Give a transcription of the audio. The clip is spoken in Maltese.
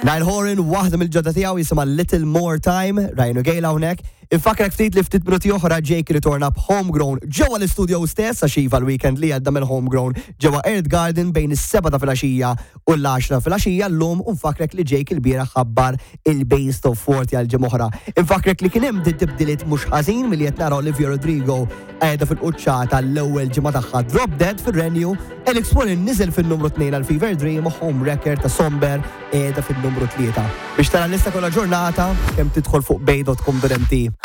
Niall Horan, waħda mill-ġodda tiegħu jisimha Little More Time, Ryan u Gail hawnhekk. Infakrek ftit li ftit minuti oħra Jake ritorna b'Homegrown ġewwa l-istudio stess għax iva l-weekend li għadda mill-Homegrown ġewwa Earth Garden bejn is-7 ta' filgħaxija u l-10 filgħaxija llum u nfakrek li Jake ilbieraħ ħabbar il-Base of 40 għal ġimgħa oħra. Infakrek li kien hemm tibdiliet mhux ħażin milli qed nara Olivia Rodrigo qiegħda fil-quċċata l-ewwel ġimgħa tagħha Drop Dead fir-Renju, Alex Warren niżel fin-numru 2 għal Fever Dream u Home Wrecker ta' Somber qiegħda fin-numru 3. Biex tara l-lista kollha ġurnata, kemm tidħol fuq bay.com.mt.